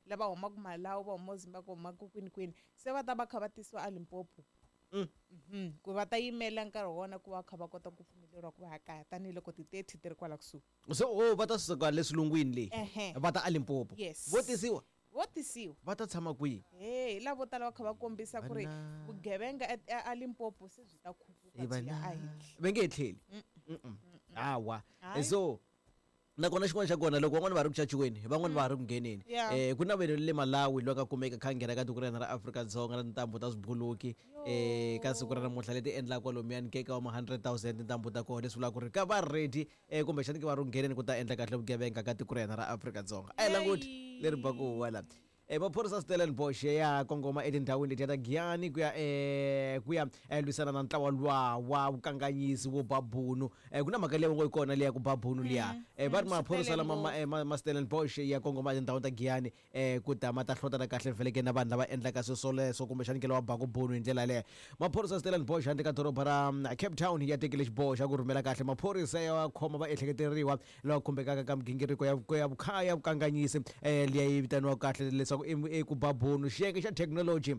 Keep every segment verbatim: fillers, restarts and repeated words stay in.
Lava humaka Malawi, va huma Zimbabwe, va humaka kwini kwini, se va ta va kha va tisiwa a Limpopo. Mm. Mhm. Ku va ta yimela nkarhi wa wona ku va kha va kota ku pfumeleriwa ku va ya kaya, tanihiloko ti-thirty ti ri kwala kusuhi. So o va ta suka le swilungwini leyi Ehe. va ta a Limpopo? Yes. Vo tisiwa? Vo tisiwa. Va ta tshama kwihi? He, hi lavo tala va kha va kombisa ku ri Vana. vugevenga e- a Limpopo se byi ta khuphuka Hi byi ya vana. ehenhla. Va nge he tlheli. Mm-mm. Hawa. Hayi. So nakona xin'wana xa kona, loko van'wani va ri ku caciweni, van'wani va ha ri ku ngheneni. Yeah. um ku na vanhu le Malawi loyi ka kumeka kha nghena ka tiko ra hina ra Afrika-Dzonga na tintambu ta swibuluki um ka siku ra namuntlha leti endlaka kwalomuyani ke ka wa ma hundred thousand tintambu ta kona, leswi vulaka ku ri ka va ready um kumbexani ke va ri ku ngheneni ku ta endla kahle vugevenga ka tiko ra hina ra Afrika-Dzonga. A hi languti leri baku huwa la. um maphorisa Stellenbosch ya kongoma etindhawini letiya ta Giyani ku ya um ku ya eh, lwisana na ntlawa luwa wa vukanganyisi wo babunu. um ku na mhaka leyi va ngo yi kona leya ku babunu liya. um va ri mm, maphorisa lama ma, Stellenbosch. eh, ma, ma Stellenbosch ya kongoma etindhawini ta Giyani um ku ta ma ta hlotana kahle vheleke na vanhu lava endlaka swilo swoleswo, kumbexani ke lava baku bunu hi ndlela yaleyo. Maphorisa Stellenbosch handle ka doroba ra mm, Cape Town ya tekile xiboho xa ku rhumela kahle maphorisa ya khoma vaehleketeriwa lava khumbekaka ka migingiriko ya ya vukha ya vukanganyisi um liya yi vitaniwaka kahle leswaku i i ku babunu. Xiyenge xa thekinoloji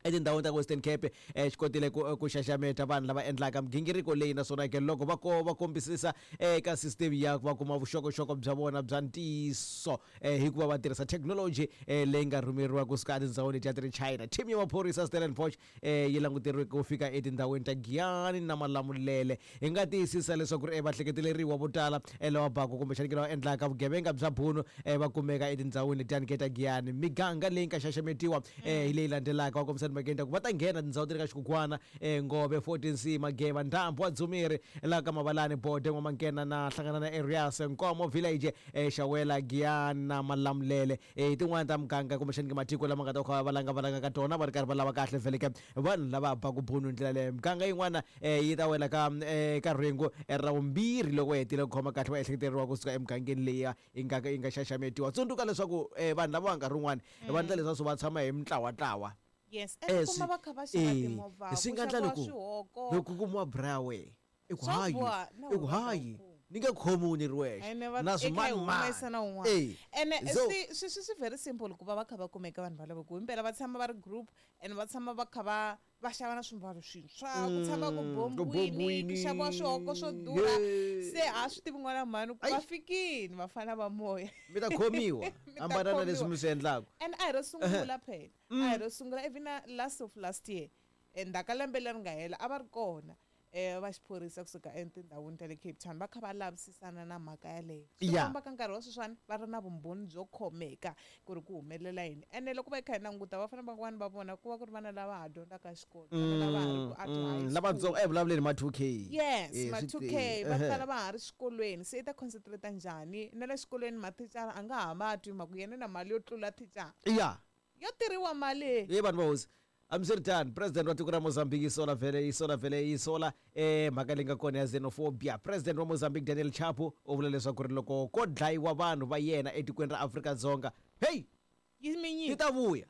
etindhawini ta Western Cape eh, xi kotile ku, ku xaxameta vanhu lava endlaka migingiriko leyi, naswona ke loko va ko va kombisisa eka system ya va kuma vuxokoxoko bya vona bya ntiyiso eh, hikuva va tirhisa thekinoloji eh, leyi nga rhumeriwa kusuka etindhawini letiya ti ri China. Team ya maphorisa Stellenbosch eh, yi languteriwe ku fika etindhawini ta Giyani na Malamulele. Hi nga tiyisisa leswaku ri eh, vahleketeleriwa vo tala eh, lava baku kumbexani ke lava endlaka vugevenga bya bunu eh, va kumeka etindhawini letiyani ke ta Giyani. Miganga leyi nga xaxametiwa eh, hi leyi landzelaka, va kombisa timhakeni ta ku va ta nghena tindhawu ti ri ka Xikukwana, eh, Ngove, fourteen C, Mageva, Ndhambu wa Dzumeri, laha ka Mavalani, Bode, N'wamankena na hlangana na Areas, Nkomo Village, eh, Xawela, Giyani na Malamulele. eh, hi tin'wani ta muganga kumbexani ke matiko lama nga ta kha va valanga valanga ka tona, va ri karhi va lava kahle vheleke vanhu lava baku bunu hi ndlela leyo. Miganga yin'wana eh, yi ta wela ka eh, ka rhengu eh, ra vumbirhi loko va hetile ku khoma kahle va ehleketeriwa kusuka emugangeni leyi yi nga yi nga xaxametiwa. Tsundzuka leswaku eh, vanhu lava va nkarhi wun'wani va endla leswaku va tshama hi mintlawatlawa. Yes, Eh, ene kuma swi- va kha va xava eh, timovha, swi ku nga endla xaviwa loko swihoko. loko ku kumiwa brawe i ku Swa hayi, boha, na i ku wena va ta hayi, ku kuma. Ni nge khomiwi ni ri wexe Ene va na i kha hi swimanimani. humesa na wun'wana. Eh, Ene so swi swi swi swi very simple ku va va kha va kumeka vanhu valavo, ku himpela va tshama va ri group and va tshama va kha va va xava na swimbalo swintshwa, ku tshama ku Mm, ku bombiwini, ku bombiwini. xaviwa swihoko swo durha. Yeah. Se a swi tivi n'wana mhani ku Ai. va fikini vafana va moya. Mi ta khomiwa. Mi ta Hambana na leswi khomiwa. mi swi endlaka. And a hi ro sungula phela, a hi ro sungula. Even na last of last year, endzhaku ka lembe leri nga hela, a va ri kona um va xiphorisa kusuka etindhawini ta le Cape Town va kha va lavisisana na mhaka yaleyo. Swi Yeah. famba ka nkarhi wa sweswiwani va ri na vumbhoni byo khomeka ku ri ku humelela yini. Ene loko va kha hi languta vafana van'wani va vona ku va ku ri vana lava ha dyondzaka xikolo, vana lava ha ri ku a Mm, high school. Lavatsongo e vulavuleni ma two K. Yes. Eh, Ma swi two te- K va ehe. tala va ha ri xikolweni, se i ta concentrate njhani na le xikolweni? Mathicara a nga ha ma twi mhaka yena na mali yo tlula thicara. Ya. Yo tirhiwa mali. Ye vanhu va hosi, hambiswiritano, president wa tiko ra Mozambique yi sola vhele, yi sola vhele, yi sola um mhaka leyi nga kona ya xenophobia. President wa Mozambique Daniel Chapo u vula leswaku ri loko ko dlayiwa vanhu va yena etikweni ra Afrika-Dzonga, heyi, yi minyiki yi ta vuya.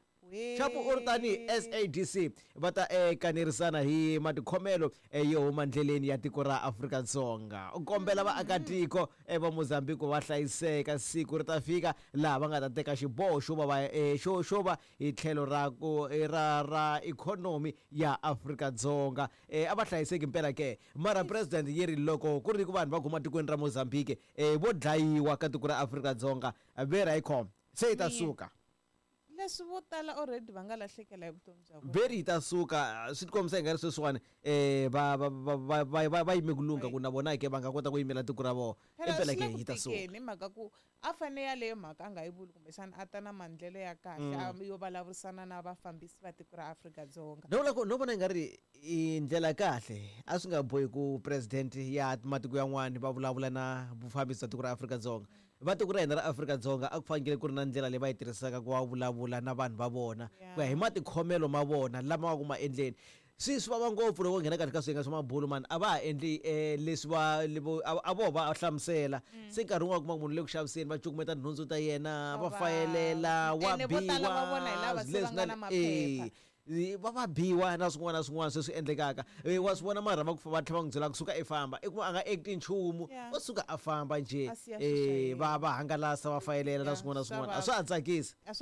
Chapo u ri tanihi S A D C va ta eh, kanerisana hi matikhomelo eh, yo huma ndleleni ya tiko ra Afrika-Dzonga. U kombela vaakatiko eh, va Mozambique va hlayiseka, siku ri ta fika laha va nga ta teka xiboho xo va va eh, xo xo va hi tlhelo ra ku eh, ra ra ikhonomi ya Afrika-Dzonga. eh, a va hlayiseki mpela ke. Mara president yi ri loko ku ri ku vanhu va huma tikweni ra Mozambique eh, vo dlayiwa ka tiko ra Afrika-Dzonga, vera yi khoma se yi ta Miye. suka. Leswi vo tala already va nga lahlekela hi vutomi bya vona. Veri yi ta suka. Swi tikombisa hi nga ri sweswiwani um va va va va va va va yime ku lungha ku na vona ke va nga kota ku yimela tiko ra vona. Phela Impela swi ke le ku yi ta suka. tikeni hi mhaka ku a fane yaleyo mhaka a nga yi vuli, kumbexana a ta na maendlelo ya kahle a yo vulavurisana na vafambisi va tiko ra Afrika-Dzonga. No vula ku no vona i nga ri i ndlela kahle, a swi nga bohi ku president ya matiko yan'wani va vulavula na vufambisi bya tiko ra Afrika-Dzonga. Va tiko ra hina ra Afrika-Dzonga a ku fanekele ku ri na ndlela leyi va yi tirhisaka ku va vulavula na vanhu va vona ku ya hi matikhomelo ma vona lama va ku ma endleni. Swi swi vava ngopfu loko u nghena kahle ka swiyenge swa mabulu mani, a va ha endli um leswi va levo- a a vo va hlamusela. Se nkarhi wun'wana kuma munhu le ku xaviseni, va cukumeta nhundzu ta yena, va Va- fayelela, wa Ene vo tala va vona hi lava biwa se va leswi nga na na maphepha. eh, Eh, va va biwa na swin'wana na swin'wana sweswi endlekaka. Eh, wa swi vona mara va ku va tlhela va n'wi byela kusuka i famba, i kuma a nga acti nchumu. Yeah. O suka a famba njhe. A siya swilo swa eh yena. Va va hangalasa, va fayelela na Yeah, swin'wana na swa swin'wana, a vava. swa ha tsakisi. A swa